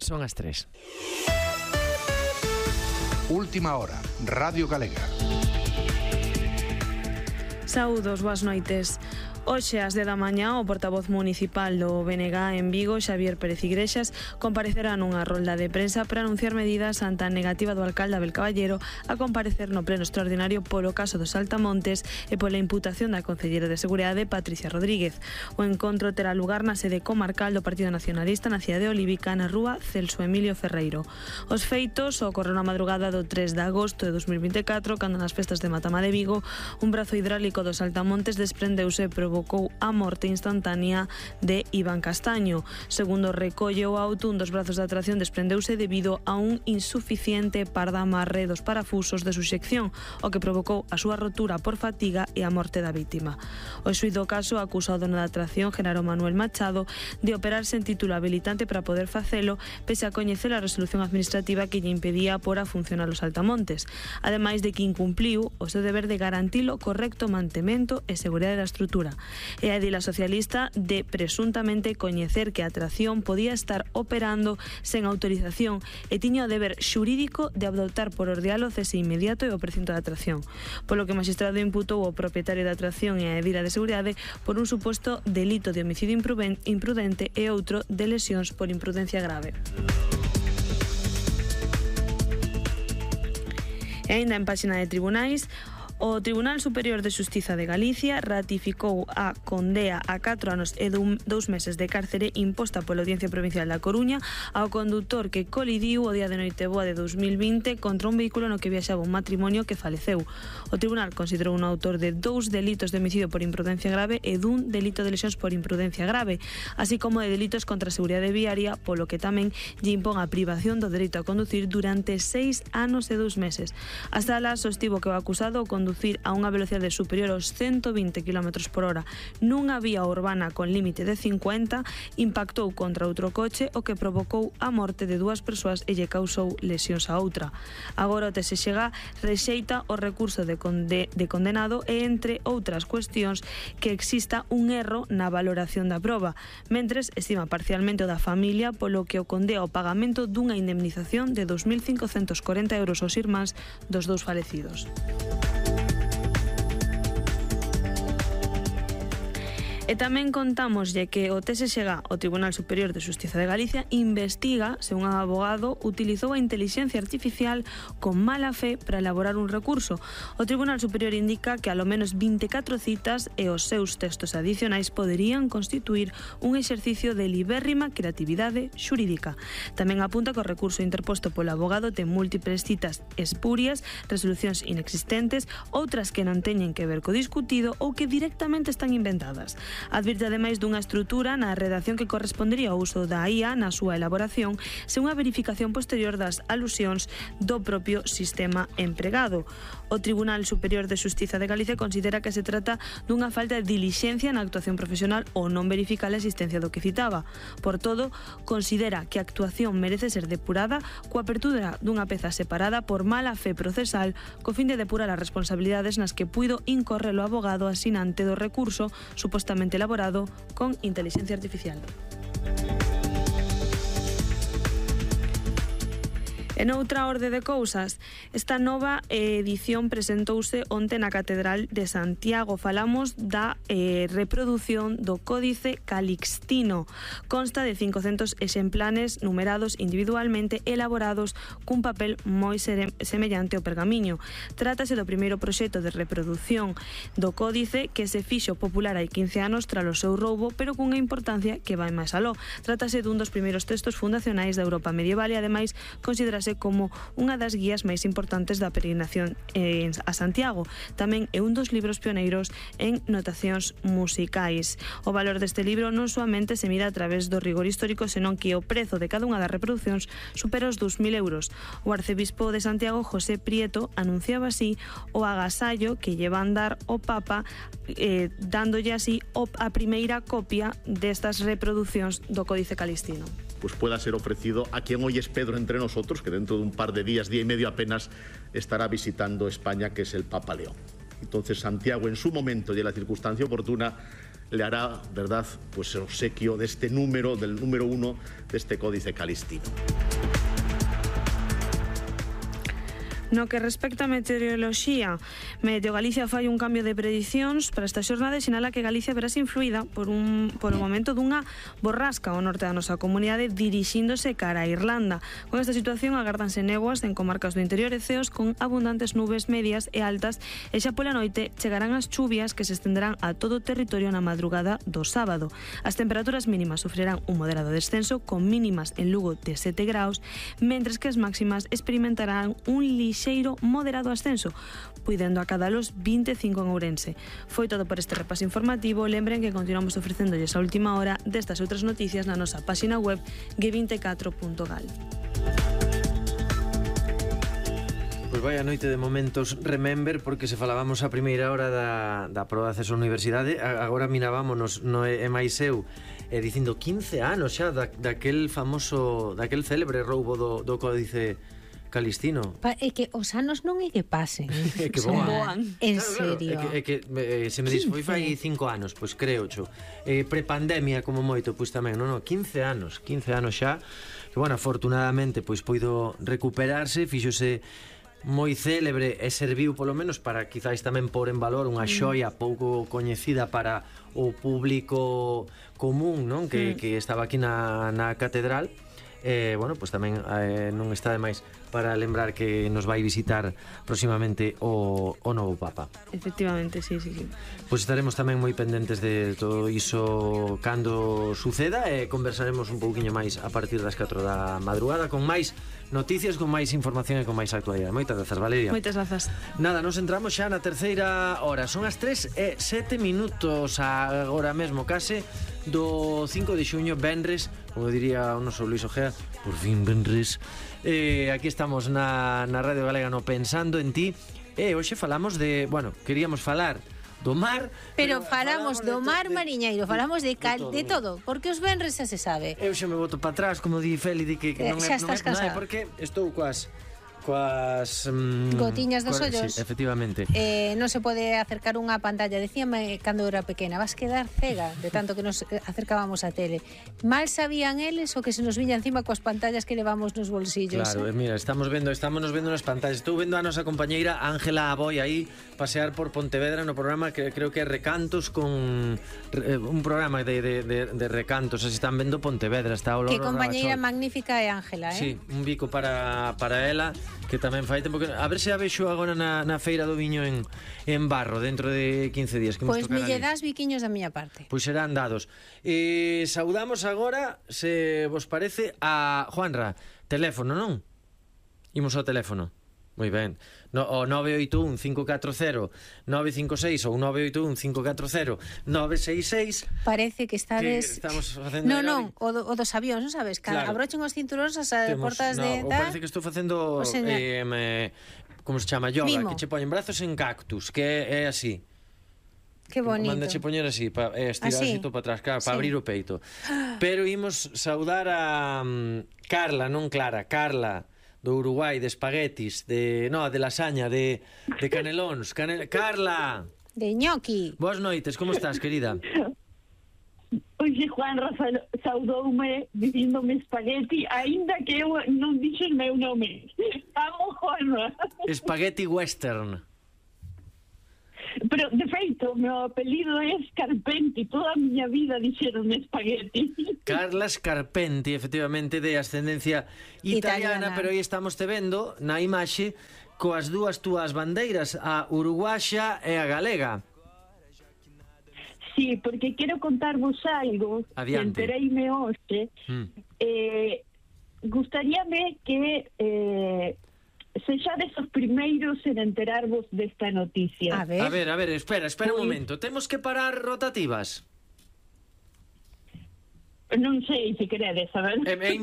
Son as 3. Última hora, Radio Galega. Saúdos, boas noites. Hoxe ás 10 da mañá o portavoz municipal do BNG en Vigo, Xavier Pérez Igrexas, comparecerá nunha rolda de prensa para anunciar medidas ante a negativa do alcalde Abel Caballero a comparecer no pleno extraordinario polo caso dos Saltamontes e pola imputación da concelleira de Seguridade, Patricia Rodríguez. O encontro terá lugar na sede comarcal do Partido Nacionalista na cidade de Olívica, na rúa Celso Emilio Ferreiro. Os feitos ocorreron na madrugada do 3 de agosto de 2024, cando nas festas de Matama de Vigo un brazo hidráulico dos Saltamontes desprendeuse e provocou a morte instantánea de Iván Castaño. Segundo recolle o auto, un dos brazos de atracción desprendeuse debido a un insuficiente par de amarre dos parafusos de suxección, o que provocou a súa rotura por fatiga e a morte da vítima. O xuíz do caso acusa o dono da atracción, Genaro Manuel Machado, de operar sen título habilitante para poder facelo, pese a coñecer a resolución administrativa que lle impedía por a funcionar os Saltamontes, ademais de que incumpliu o seu deber de garantir o correcto mantemento e seguridade da estrutura. E a edila socialista de presuntamente coñecer que a atracción podía estar operando sen autorización e tiña o deber xurídico de adoptar por ordial o cese inmediato e o precinto da atracción, polo que o magistrado imputou ao propietario da atracción e a edila de seguridade por un suposto delito de homicidio imprudente e outro de lesións por imprudencia grave. E aínda en páxina de tribunais, o Tribunal Superior de Xustiza de Galicia ratificou a condea a 4 anos e 2 meses de cárcere imposta pola Audiencia Provincial da Coruña ao condutor que colidiu o día de Noiteboa de 2020 contra un vehículo no que viaxaba un matrimonio que faleceu. O Tribunal considerou un autor de 2 delitos de homicidio por imprudencia grave e dun delito de lesións por imprudencia grave, así como de delitos contra a seguridade viaria, polo que tamén lle impón a privación do dereito a conducir durante 6 anos e 2 meses. Hasta alá sostivo que o acusado conducir a unha velocidade superior aos 120 km por hora nunha vía urbana con límite de 50 impactou contra outro coche, o que provocou a morte de 2 persoas e lle causou lesións a outra. Agora o TSX rexeita o recurso de condenado e, entre outras cuestións, que exista un erro na valoración da proba, mentres estima parcialmente o da familia, polo que o condea ao pagamento dunha indemnización de 2.540 euros aos irmáns dos 2 falecidos. E tamén contámoslle que o TSX, o Tribunal Superior de Xustiza de Galicia, investiga se un abogado utilizou a intelixencia artificial con mala fe para elaborar un recurso. O Tribunal Superior indica que alo menos 24 citas e os seus textos adicionais poderían constituir un exercicio de libérrima creatividade xurídica. Tamén apunta que o recurso interposto polo abogado ten múltiples citas espurias, resolucións inexistentes, outras que non teñen que ver co discutido ou que directamente están inventadas. Advirte ademais dunha estrutura na redacción que correspondería ao uso da IA na súa elaboración sen unha verificación posterior das alusións do propio sistema empregado. O Tribunal Superior de Xustiza de Galicia considera que se trata dunha falta de dilixencia na actuación profesional ou non verificar a existencia do que citaba. Por todo, considera que a actuación merece ser depurada coa apertura dunha peza separada por mala fe procesal co fin de depurar as responsabilidades nas que puido incorrer o abogado asinante do recurso supostamente elaborado con inteligencia artificial. En outra orde de cousas, esta nova edición presentouse onte na Catedral de Santiago. Falamos da reprodución do Códice Calixtino. Consta de 500 exemplares numerados individualmente, elaborados cun papel moi semellante ao pergamiño. Trátase do primeiro proxecto de reproducción do Códice que se fixo popular hai 15 anos tras o seu roubo, pero cunha importancia que vai máis aló. Trátase dun dos primeiros textos fundacionais da Europa medieval e, ademais, considerase como unha das guías máis importantes da peregrinación a Santiago. Tamén é un dos libros pioneiros en notacións musicais. O valor deste libro non soamente se mide a través do rigor histórico, senón que o prezo de cada unha das reproduccións supera os 2.000 euros. O arcebispo de Santiago, José Prieto, anunciaba así o agasallo que lle van dar o Papa, dándolle así a primeira copia destas reproduccións do Códice Calixtino. Pues pueda ser ofrecido a quien hoy es Pedro entre nosotros, que dentro de un par de días, día y medio apenas, estará visitando España, que es el Papa León. Entonces Santiago, en su momento y en la circunstancia oportuna, le hará, verdad, pues el obsequio de este número, del número 1 de este Códice Calistino. No que respecta a meteoroloxía, Meteo Galicia fai un cambio de predicións para esta xornada e sinala que Galicia verase influída por o momento dunha borrasca ao norte da nosa comunidade dirixíndose cara a Irlanda. Con esta situación agárdanse néboas en comarcas do interior e ceos con abundantes nubes medias e altas e xa pola noite chegarán as chuvias que se estenderán a todo o territorio na madrugada do sábado. As temperaturas mínimas sufrirán un moderado descenso con mínimas en Lugo de 7 graus, mentres que as máximas experimentarán un lixeiro moderado ascenso, puidendo acadar os 25 en Ourense. Foi todo por este repaso informativo. Lembren que continuamos ofrecéndolles a última hora destas outras noticias na nosa página web g24.gal. Pois vai a noite de momentos remember, porque se falábamos a primeira hora da proba de acceso á universidade, agora mirábamos no Emaiseu dicindo 15 anos xa daquel famoso, daquel célebre roubo do Códice Calistino. É que os anos non é que pasen. É que voan. En serio. É que se me dis, foi fai 5 anos, pois creo, xo. Prepandemia como moito, pois tamén, non, 15 anos xa, que, bueno, afortunadamente, pois poido recuperarse, fíxose moi célebre e serviu polo menos para quizáis tamén pôr en valor unha xoia pouco coñecida para o público común, non? Que estaba aquí na catedral. Bueno, pois tamén non está de máis para lembrar que nos vai visitar próximamente o novo Papa. Efectivamente, sí. Pois estaremos tamén moi pendentes de todo iso cando suceda e conversaremos un pouquiño máis a partir das 4 da madrugada con máis noticias, con máis información e con máis actualidade. Moitas grazas, Valeria. Moitas grazas. Nada, nos entramos xa na terceira hora. Son as 3:07 agora mesmo case do 5 de xuño, venres, como diría o noso Luis Ojea, por fin venres. Aquí estamos na Radio Galega no Pensando en Ti. Hoxe falamos de, bueno, queríamos falar do mar, pero falamos do mar mariñeiro, falamos de todo, porque os venres xa se sabe. Eu xa me boto para atrás, como di Feli, di que non é porque estou coas gotiñas dos ollos. Sí, efectivamente. Non se pode acercar unha pantalla. Decíame cando era pequena, vas quedar cega de tanto que nos acercábamos á tele. Mal sabían eles o que se nos viña encima coas pantallas que levamos nos bolsillos. Claro, mira, estamos nos vendo nas pantallas. Estou vendo a nosa compañeira Ángela Aboi aí pasear por Pontevedra no programa que creo que é Recantos, con un programa de recantos. Así están vendo Pontevedra, está o Loro. Que compañeira magnífica é Ángela, Sí, un bico para ela, que tamén fai tempo que... A ver se a vexo agora na Feira do Viño en Barro, dentro de 15 días. Pois me lle das biquiños da miña parte. Pois serán dados. Saudamos agora, se vos parece, a Juanra. Teléfono, non? Imos ao teléfono. Moi ben. O 981-540-956 ou 981-540-966. Parece que estades... Que estamos facendo... Non, o dos avións, non sabes? Claro. Abrochen os cinturóns as portas de... Parece que estou facendo... como se chama? Yoga. Mimo. Que che poñen brazos en cactus, que é así. Que bonito. Mandache poñer así, estirar así todo para atrás, para abrir o peito. Pero imos saudar a Carla, non Clara, Carla, do Uruguai, de espaguetis, de lasaña, de canelóns. Carla! De ñoqui. Boas noites, como estás, querida? Oxe, Juan Rafael saudoume dicíndome espagueti, aínda que eu non dixo o meu nome. Amo, Juanra. Espagueti western. Pero, de feito, o meu apelido é Scarpenti. Toda a miña vida dixeron espagueti. Carla Scarpenti, efectivamente, de ascendencia italiana. Pero aí estamos te vendo na imaxe coas dúas túas bandeiras, a uruguaxa e a galega. Sí, porque quero contarvos algo. Adiante. Que entereime hoxe. Gustaríame que... sexades os primeiros en enterarvos desta noticia. A ver, espera un momento. Temos que parar rotativas? Non sei se queredes, a ver. É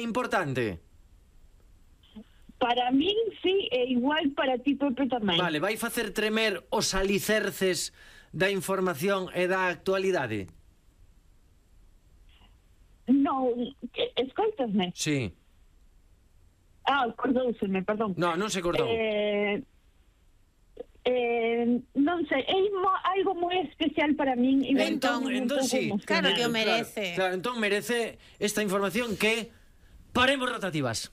importante? Para min, sí, é igual para ti, Pepe, tamén. Vale, vai facer tremer os alicerces da información e da actualidade? Non, escoitasme? Sí. Cordouseme, perdón. Non se cortou. Non sei, é algo moi especial para min. Entón sí. Claro que o merece. Claro, entón merece esta información que paremos rotativas.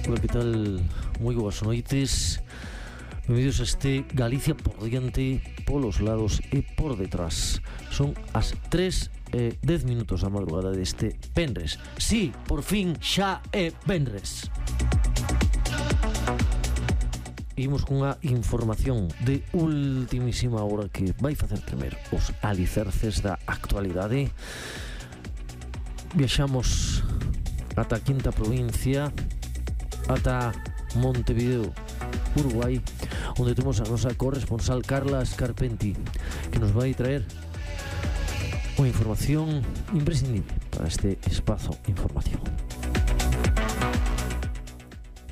Hola, que tal? Moi boas noites. Benvidos a este Galicia por diante, polos lados e por detrás. Son as 3:10 da madrugada deste venres. Sí, por fin xa é venres. Imos cunha información de ultimísima hora que vai facer tremer os alicerces da actualidade. Viaxamos ata a quinta provincia, ata Montevideo, Uruguai, onde temos a nosa corresponsal Carla Scarpenti, que nos vai traer unha información imprescindible para este espazo informativo.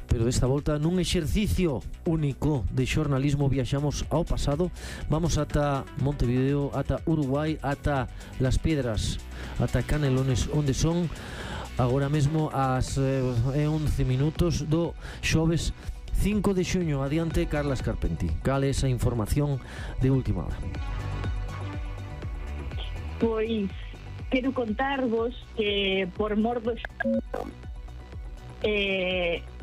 Pero desta volta, nun exercicio único de xornalismo, viaxamos ao pasado. Vamos ata Montevideo, ata Uruguai, ata Las Piedras, ata Canelones, onde son agora mesmo as 11 minutos do xoves 5 de xuño. Adiante, Carla Scarpenti. Cal é esa información de última hora? Pois quero contarvos que por mor do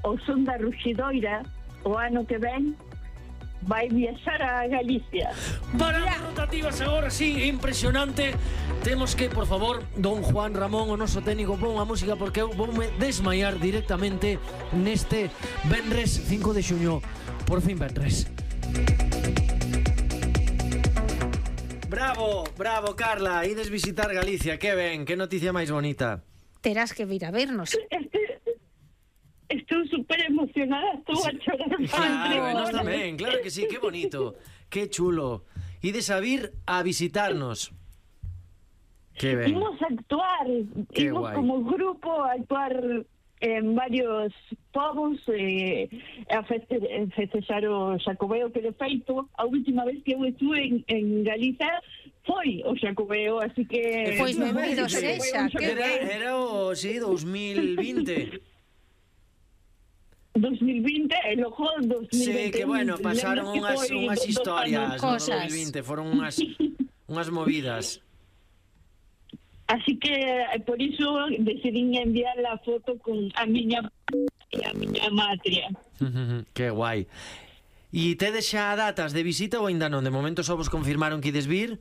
o son da ruxidoira o ano que ven vai viaxar a Galicia. Paramos rotativas agora, sí, impresionante. Temos que, por favor, don Juan Ramón, o noso técnico, pon a música porque eu voume desmaiar directamente neste venres 5 de xuño. Por fin venres. Bravo, bravo, Carla. Ides visitar Galicia, que ben, que noticia máis bonita. Terás que vir a vernos. Estou super emocionada, estou a chorar. Claro, nós tamén, claro que sí, que bonito, que chulo. Ides a vir a visitarnos. Que ben. Imos a actuar, Qué imos guai. como grupo a actuar en varios povos a festexar o Xacobeo, que de feito a última vez que eu estuve en Galiza foi o Xacobeo, así que... Pois benvido sexa, que ben. Era o, sí, 2020. 2020 e logo 2021. Sí, que bueno, pasaron unhas historias no Cosas. 2020, foron unhas movidas. Así que por iso decidín enviar a foto con a miña e a miña matria. Que guai. E tedes xa datas de visita ou ainda non? De momento só vos confirmaron que ides vir?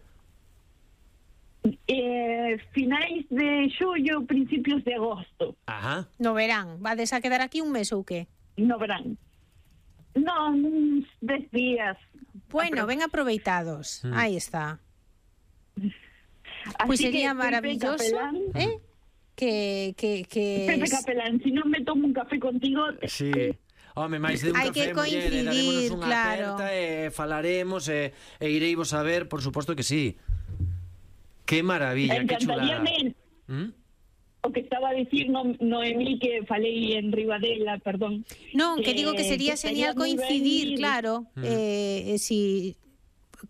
Finais de xullo, principios de agosto. Ajá. No verán, vades a quedar aquí un mes ou que? No verán. Non, uns 10 días. Bueno, ben aproveitados. Aí está. Así Pois sería que, maravilloso, Pepe Capelán, Pepe Capelán, si non me tomo un café contigo... Sí. Home, máis de un Hai café, que muller, coincidir, darémonos unha claro. aperta e falaremos e ireivos a ver, por suposto que sí. Que maravilla, que chulada. Encantaríame o que estaba a dicir Noemí, que falei en Ribadela, perdón. Non, que digo que sería estaría señal moi ben coincidir, ir. claro, si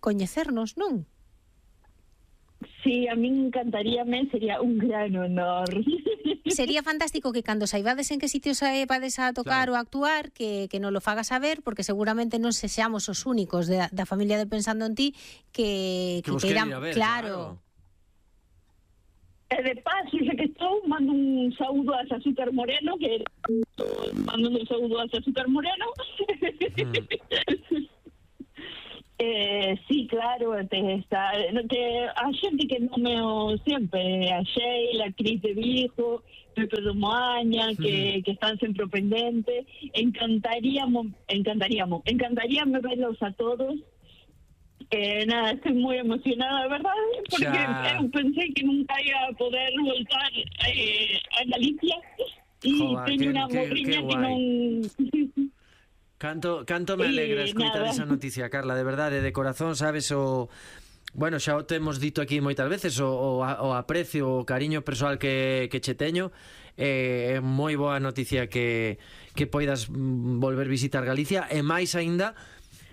coñecernos, non? Sí, a min encantaríame, sería un gran honor. Sería fantástico que cando saibades en que sitios vades a tocar Claro. ou a actuar, que non lo fagas saber, porque seguramente non sexamos os únicos da familia de Pensando en Ti que vos queren ir a ver, claro. E de paso, xa que estou, mando un saúdo a Azúcar Moreno, que mando un saúdo a Azúcar Moreno. Sí, claro, está, que a xente que non me o sempre, a Sheila, a Cris de Vigo, Pepe do Moaña, que están sempre pendente. Encantaríame verlos a todos. Nada, estoy moi emocionada, verdad, porque eu pensei que nunca ia a poder voltar a Galicia e teño unha morriña que non... Canto me alegra escoitar esa noticia, Carla, de verdade, de corazón, sabes, o... Bueno, xa o temos dito aquí moitas veces, o aprecio, o cariño persoal que che teño. É moi boa noticia que poidas volver visitar Galicia, e máis aínda,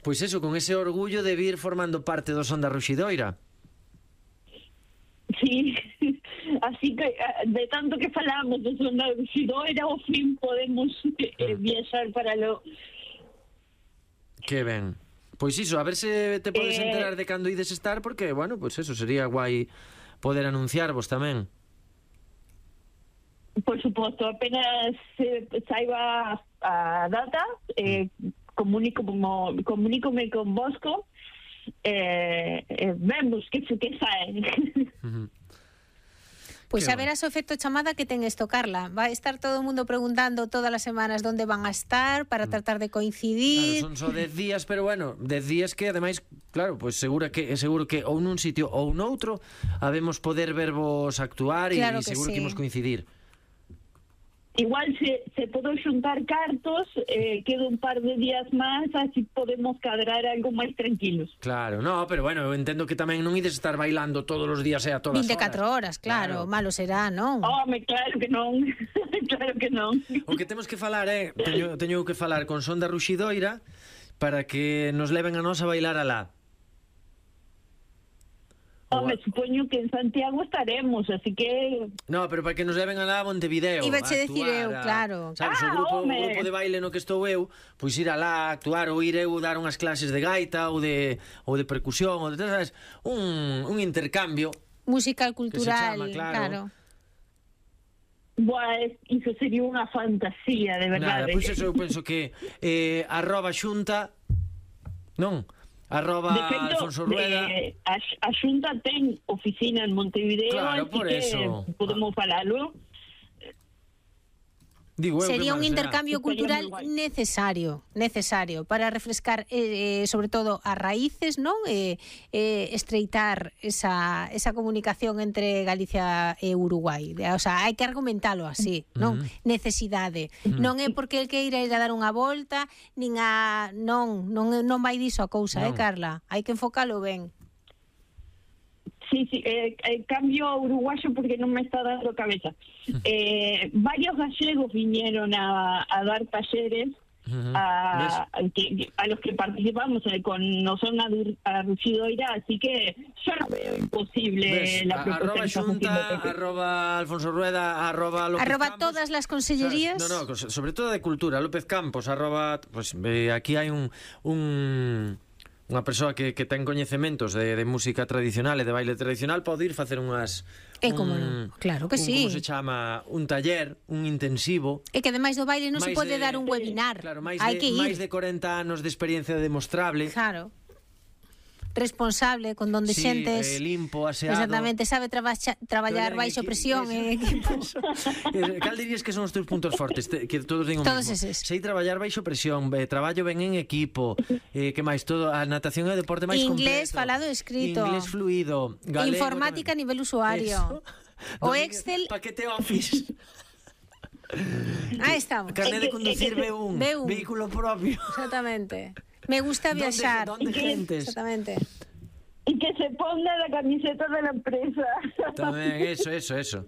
pois eso, con ese orgullo de vir formando parte do Son da Ruxidoira. Sí, Así que de tanto que falamos de Son da Ruxidoira, ao fin podemos viaxar para lo... Que ben. Pois iso, a ver se te podes enterar de cando ides estar, porque, bueno, pois eso, sería guai poder anunciarvos tamén. Por suposto, apenas saiba a data, comunícome con Bosco, vemos que sae. Pois a ver a o efecto chamada que ten isto, Carla. Vai estar todo o mundo preguntando todas as semanas onde van a estar para tratar de coincidir. Claro, son só 10 días, pero bueno, 10 días que ademais, claro, pois seguro que ou nun sitio ou noutro habemos poder vervos actuar e Claro que seguro sí. que imos coincidir. Igual se podo xuntar cartos, quedo un par de días máis, así podemos cadrar algo máis tranquilos. Claro, no, pero bueno, eu entendo que tamén non ides estar bailando todos os días e a todas 24 horas, claro, malo será, non? Home, claro que non. Claro que non. O que temos que falar teño que falar con Son da Ruxidoira para que nos leven a nós a bailar alá. Home, supoño que en Santiago estaremos, así que... No, pero para que nos leven alá a Montevideo. Ibache a decir eu, claro. Sabes, o grupo de baile no que estou eu, pois ir alá a actuar ou ir eu dar unhas clases de gaita ou de percusión, ou de, sabes, un intercambio. Musical, cultural, chama, claro. Buah, iso sería unha fantasía, de verdade. Nada, pois eso eu penso que @xunta, non? De feito, Alfonso Rueda. a Xunta ten oficina en Montevideo, Claro, así por que eso. podemos falalo. Digo, Sería un que máis intercambio Estaría cultural moi guai. necesario para refrescar sobre todo as raíces, non? Estreitar esa comunicación entre Galicia e Uruguai. O sea, hai que argumentalo así, non? Necesidade. Non é porque el queira ir a dar unha volta, nin a non vai diso a cousa, Non. Carla? Hai que enfocalo ben. Sí, cambio a uruguayo porque no me está dando cabeza. Varios gallegos vinieron a dar talleres a los que participamos con Nosón a Ruxidoira, así que yo no veo imposible la propuesta que estamos haciendo. @Alfonso Rueda, @López Campos. Todas las consellerías. No, sobre todo de cultura, López Campos, pues aquí hai unha persoa que ten coñecementos de música tradicional e de baile tradicional pode ir facer unhas como non? Claro que sí. Como se chama? Un taller, un intensivo. E que ademais do baile non se pode dar un webinar. Claro, hai que ir. máis de 40 anos de experiencia demostrable. Claro. Responsable, con donde xentes limpo, aseado. Exactamente, sabe traballar baixo presión en equipos. Cal dirías que son os teus puntos fortes? Que todos digan o Todos mismo. eses. Sei traballar baixo presión, traballo ben en equipo, que máis todo, a natación é o deporte máis Inglés completo. falado e escrito. Inglés fluido, galego Informática tamén. a nivel usuario. O Domínguez, Excel. paquete Office. Aí estamos. Carnet de conducir B1, B1. vehículo propio. Exactamente. Me gusta viaxar. ¿Dónde gentes? Exactamente. Y que se ponga la camiseta de la empresa. Tamén, eso.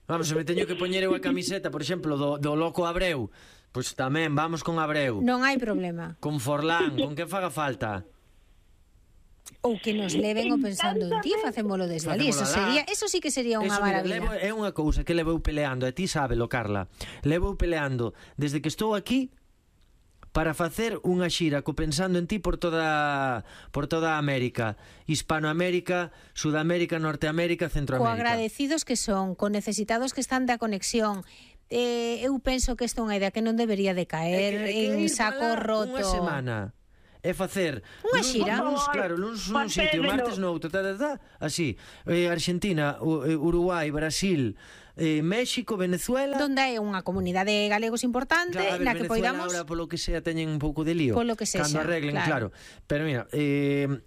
Vamos, se me teño que poñer eu a camiseta, por exemplo, do Loco Abreu, pois tamén vamos con Abreu. Non hai problema. Con Forlán, con que faga falta. Ou que nos leven o pensando en ti, facémolo desde ali. Eso sí que sería unha maravilla. É unha cousa que levou peleando, e ti sábelo, Carla. Levou peleando desde que estou aquí para facer unha xira co Pensando en ti por toda a América, Hispanoamérica, Sudamérica, Norteamérica, Centroamérica. Co agradecidos que son, con necesitados que están da conexión. Eu penso que esta é unha idea que non debería de caer en saco roto. Unha semana é facer unha xira, nun sitio, martes noutro, así, Argentina, Uruguai, Brasil, México, Venezuela. Donde hai unha comunidade de galegos importante, claro, na que Venezuela poidamos ahora polo que sea teñen un pouco de lío. Polo que sexa, cando arreglen, claro. Pero mira,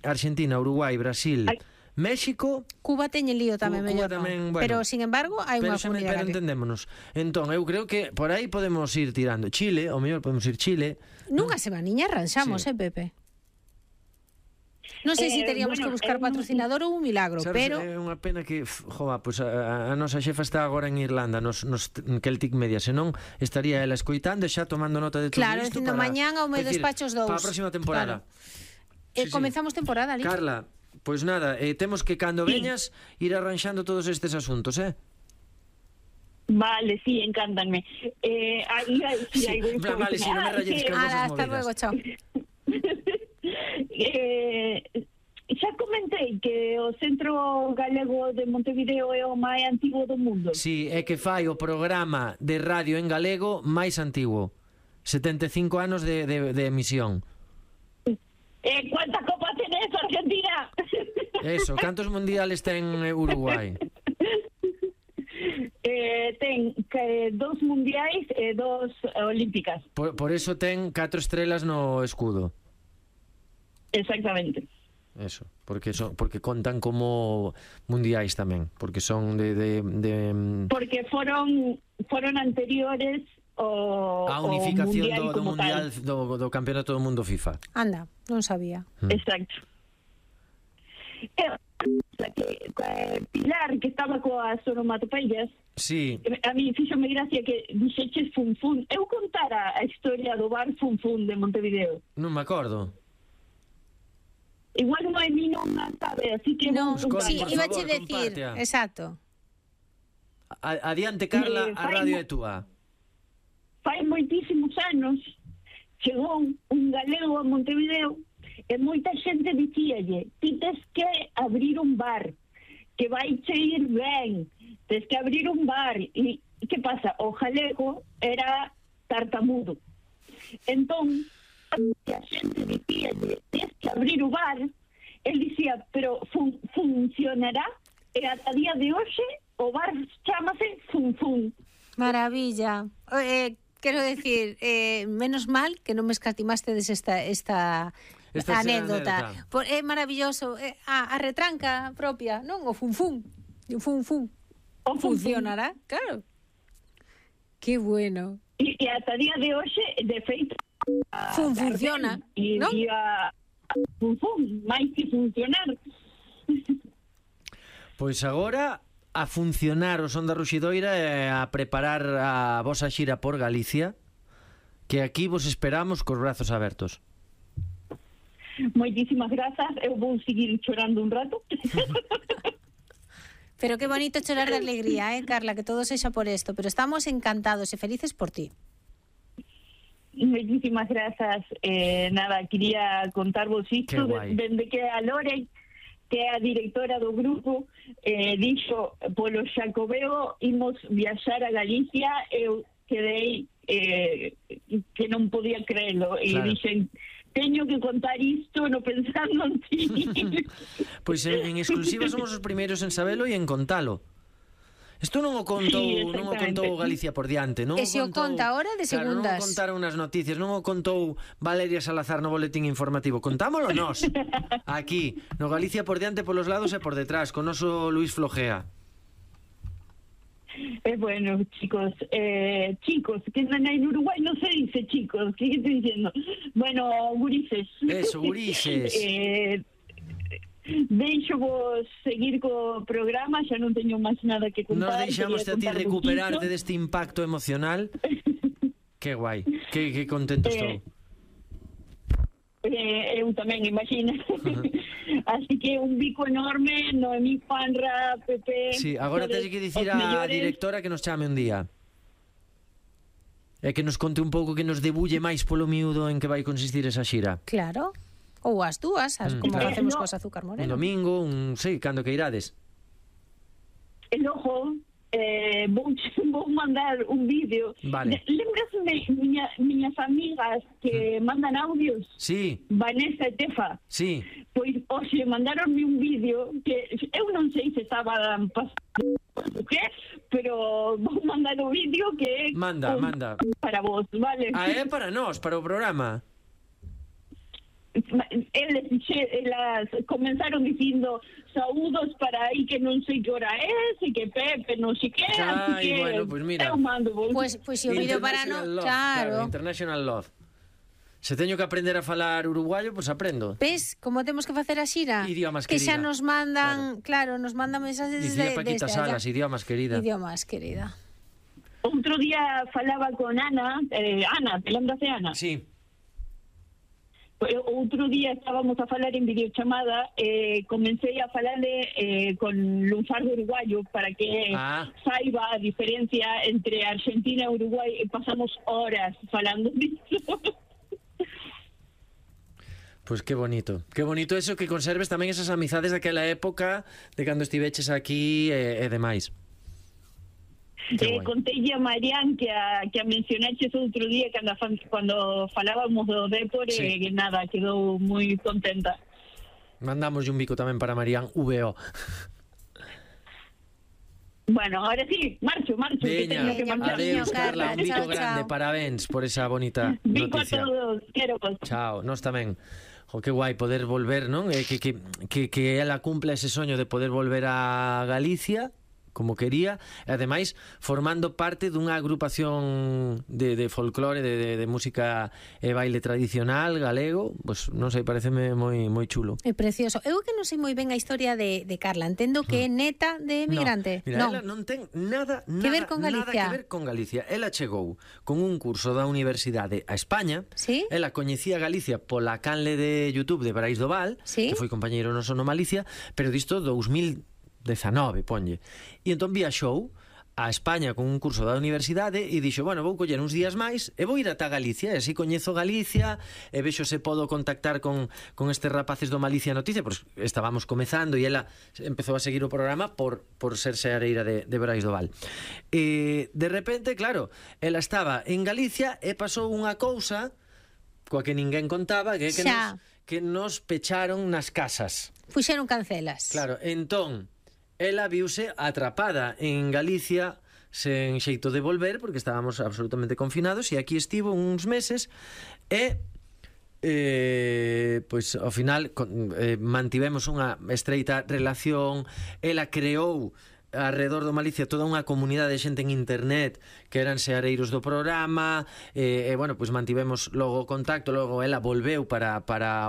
Argentina, Uruguai, Brasil, México, Cuba teñe lío tamén, Cuba mellor tamén, non. bueno, pero sin embargo hai unha comunidade pero entendémonos. Entón, eu creo que por aí podemos ir tirando. Chile, o mellor podemos ir Chile. Nunha semaniña arranxamos, Sí. Pepe. Non sei se teríamos que buscar patrocinador ou un milagro, Sabes, pero é unha pena que, pues a nosa xefa está agora en Irlanda, nos Celtic Media, senón estaría ela escoitando e xa tomando nota de todo claro, isto. Dicindo mañán ao meu decir, despachos 2. Para a próxima temporada. Claro. Comenzamos temporada ali. Carla, Pois nada, temos que cando veñas ir arranxando todos estes asuntos, Vale, sí, encántanme. Vale, si non me rayes con vosas Hasta luego, movidas. chao. Xa comentei que o Centro Galego de Montevideo é o máis antigo do mundo. Si, é que fai o programa de radio en galego máis antigo. 75 anos de emisión. ¿Cuántas copas tenés, Argentina? Eso, cantos mundiales ten Uruguai? Ten 2 mundiais e 2 olímpicas. Por eso ten 4 estrelas no escudo. Exactamente. Eso, porque contan como mundiais tamén, porque son de Porque foron anteriores a unificación do mundial do campeonato do mundo FIFA. Anda, non sabía. Exacto. Pilar, que estaba coas onomatopeias, Sí. a mí fíxome gracia que dixeches Fun Fun. Eu contara a historia do bar Fun Fun de Montevideo. Non me acordo. Igual Noemí non a sabe, así que No, vou contar. sí, por iba a favor, decir, compártea. exacto. Adiante, Carla, a radio é túa. Fai moitísimos anos chegou un galego a Montevideo e moita xente dicíalle: ti tes que abrir un bar, que vai che ir ben, tes que abrir un bar. E que pasa? O galego era tartamudo. Entón, a xente dicíalle: tes que abrir o bar. El dicía: pero funcionará? E ata día de hoxe o bar chámase Fun Fun. Maravilla. Quero decir, menos mal que non me escatimastes esta anécdota. É maravilloso. A retranca propia, non? O Fun Fun. O Fun Fun. O Fun Fun. Funcionará, claro. Qué bueno. E ata día de hoxe, de feito, funciona, e non? a Fun Fun, máis que funcionar. Pois agora a funcionar o Son da Ruxidoira e a preparar a vosa xira por Galicia, que aquí vos esperamos cos brazos abertos. Moitísimas grazas, eu vou seguir chorando un rato. Pero qué bonito chorar de alegría, Carla, que todo sexa por esto. Pero estamos encantados e felices por ti. Moitísimas grazas. Nada, quería contarvos isto dende que a Lore, que é a directora do grupo, dixo polo Xacobeo imos viaxar a Galicia. Eu quedei que non podía creelo e dixen: teño que contar isto, no pensando en ti. Pois en exclusiva somos os primeiros en sabelo e en contalo. Isto non o contou Galicia por diante, non? E se o conta ahora de segundas. Non o contaron nas noticias, non o contou Valeria Salazar no boletín informativo. Contámolo nós, aquí, no Galicia por diante, polos lados e por detrás, con noso Luis Flogea. Bueno, chicos, que en Uruguay no se dice chicos, ¿qué estoy diciendo? Bueno, gurises. Eso, gurises. Deixo vos seguir co programa, xa non teño máis nada que contar. Nos deixamos a ti recuperarte deste impacto emocional. Que guai, que contento estou. Eu tamén, imagina. Así que un bico enorme, Noemí, Juanra, Pepe. Sí, agora tens que dicir á directora que nos chame un día. E que nos conte un pouco, que nos debulle máis polo miúdo en que vai consistir esa xira. Claro. Ou as dúas, como facemos coas Azúcar Moreno. Un domingo, cando que irades. El ojo, vou mandar un vídeo. Vale. Lembrasme miñas amigas que mandan audios? Sí. Vanessa e Tefa. Sí. Pois hoxe mandaronme un vídeo que eu non sei se estaba pasando que, pero vou mandar o vídeo que é Manda. para vos, vale? É para nós, para o programa. Elas comenzaron dicindo saúdos para aí que non sei que hora é, e que Pepe non sei que, así que bueno, pues mira, eu mando vos. Pues se o vídeo para nós, claro. International Love. Se teño que aprender a falar uruguayo, pues aprendo. Ves como temos que facer a xira? Idiomas que querida. xa nos mandan, claro, nos mandan mensajes Dicía Paquita Salas, idiomas querida. Idiomas querida. Outro día falaba con Ana, te lembras de Ana? Sí. outro día estábamos a falar en videochamada, comecei a falarle con lunfardo uruguayo para que saiba a diferencia entre Argentina e Uruguai, e pasamos horas falando disso. Pois que bonito eso, que conserves tamén esas amizades daquela época de cando estiveches aquí e demais. Conteille a Marián que a mencionaches outro día cando falábamos do Dépor, que nada, quedou moi contenta. Mandamos un bico tamén para Marián VO. Bueno, ahora sí, marcho. Veña, que adeus, Carla, un bico grande, parabéns por esa bonita noticia. Bico a todos, quero vos. Chao, nós tamén. Que guai poder volver, non? Que ela cumpla ese soño de poder volver a Galicia como quería, e ademais formando parte dunha agrupación de folclore, de música e baile tradicional galego. Pois non sei, pareceme moi chulo. É precioso. Eu que non sei moi ben a historia de Carla, entendo que é neta de emigrante. Mira, ela non ten nada que ver con Galicia. Ela chegou con un curso da universidade a España. ¿Sí? Ela coñecía Galicia pola canle de YouTube de Brais do Val, ¿sí? Que foi compañeiro noso no Malicia, pero disto 2019, ponlle. E entón viaxou a España con un curso da universidade e dixo, bueno, vou coller uns días máis e vou ir ata Galicia, e así coñezo Galicia e vexo se podo contactar con estes rapaces do Malicia Noticia. Pois estábamos comezando e ela empezou a seguir o programa por ser seareira de Brais do Val. E de repente, claro, ela estaba en Galicia e pasou unha cousa coa que ninguén contaba, que nos pecharon nas casas. Puxeron cancelas. Claro, entón ela viuse atrapada en Galicia sen xeito de volver porque estábamos absolutamente confinados, e aquí estivo uns meses e pois ao final mantivemos unha estreita relación. Ela creou alrededor do Malicia toda unha comunidade de xente en internet que eran seareiros do programa, e bueno, pois mantivemos logo o contacto. Logo ela volveu para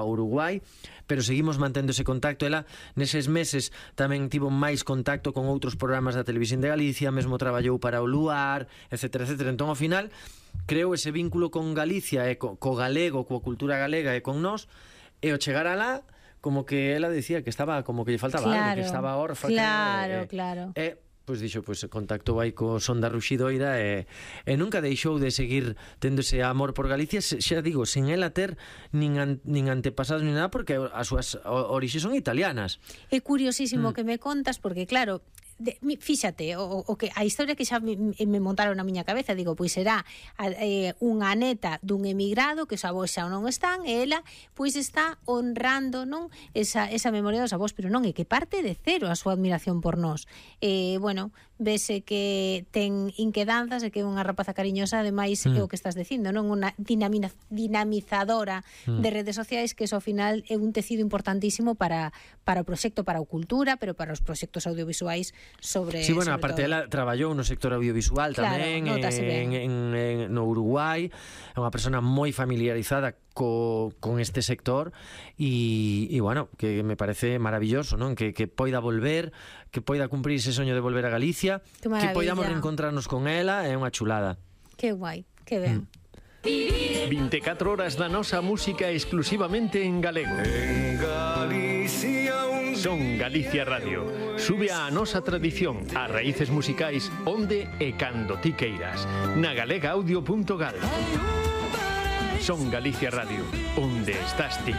Uruguai, pero seguimos mantendo ese contacto. Ela neses meses tamén tivo máis contacto con outros programas da Televisión de Galicia, mesmo traballou para o Luar, etcétera. Entón ao final creou ese vínculo con Galicia e co galego, coa cultura galega e con nós, e ao chegar alá como que ela decía que estaba, como que lle faltaba algo, que estaba órfa. Claro. E pois dixo, pois contactou aí co Son da Ruxidoira e nunca deixou de seguir tendo ese amor por Galicia, xa digo, sin ela ter nin antepasados nin nada, porque as súas orixes son italianas. É curiosísimo que me contas, porque claro, fíxate, o que a historia que xa me montaron na miña cabeza, digo, pois será unha neta dun emigrado que os avós xa non están, e ela pois está honrando, non, esa memoria dos avós, pero non, é que parte de cero a súa admiración por nós. Bueno, vese que ten inquedanzas e que é unha rapaza cariñosa, ademais é o que estás dicindo, non, unha dinamizadora de redes sociais, que eso ao final é un tecido importantísimo para o proxecto, para a cultura, pero para os proxectos audiovisuais sobre. Sí, bueno, aparte ela traballou no sector audiovisual tamén, no Uruguai. É unha persona moi familiarizada con este sector e bueno, que me parece maravilloso, non? Que poida volver, que poida cumprir ese soño de volver a Galicia, que poidamos reencontrarnos con ela, é unha chulada. Que guai, que ben. 24 horas da nosa música exclusivamente en galego. En Galicia Son Galicia Radio. Sube a nosa tradición, as raíces musicais onde e cando ti queiras. Na galegaaudio.gal. Son Galicia Radio, onde estás ti.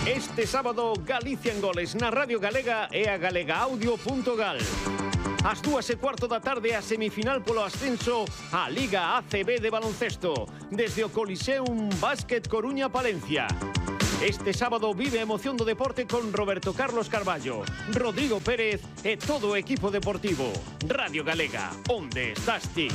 Este sábado, Galicia en Goles na Radio Galega e a galegaaudio.gal. Ás 2:15 da tarde, a semifinal polo ascenso á Liga ACB de baloncesto, desde o Coliseum Básquet Coruña Palencia. Este sábado vive a emoción do deporte con Roberto Carlos Carballo, Rodrigo Pérez e todo o equipo deportivo. Radio Galega, onde estás ti?